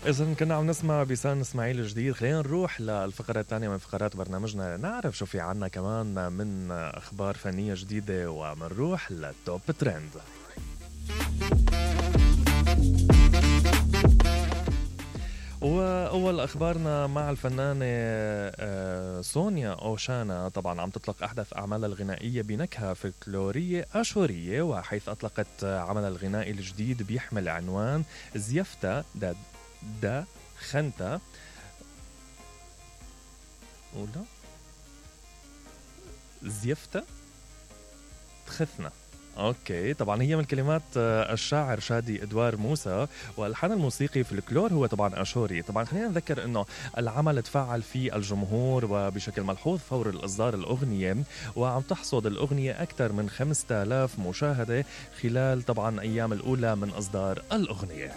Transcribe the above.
إذن كنا عم نسمع بيسان إسماعيل الجديد. خلينا نروح للفقرة الثانية من فقرات برنامجنا، نعرف شو في عنا كمان من أخبار فنية جديدة، ومنروح للتوب ترند. وأول أخبارنا مع الفنانة سونيا أوشانا. طبعا عم تطلق أحدث أعمالها الغنائية بنكهة فلكلورية أشورية، وحيث أطلقت عملها الغنائي الجديد بيحمل عنوان زيفتا دا خنتا ولا زيفتا تخثنا. اوكي، طبعا هي من كلمات الشاعر شادي ادوار موسى، والحان الموسيقي في الكلور هو طبعا اشوري. طبعا خلينا نذكر انه العمل تفاعل فيه الجمهور وبشكل ملحوظ فور الاصدار الاغنيه، وعم تحصد الاغنيه اكثر من 5000 مشاهده خلال طبعا ايام الاولى من اصدار الاغنيه.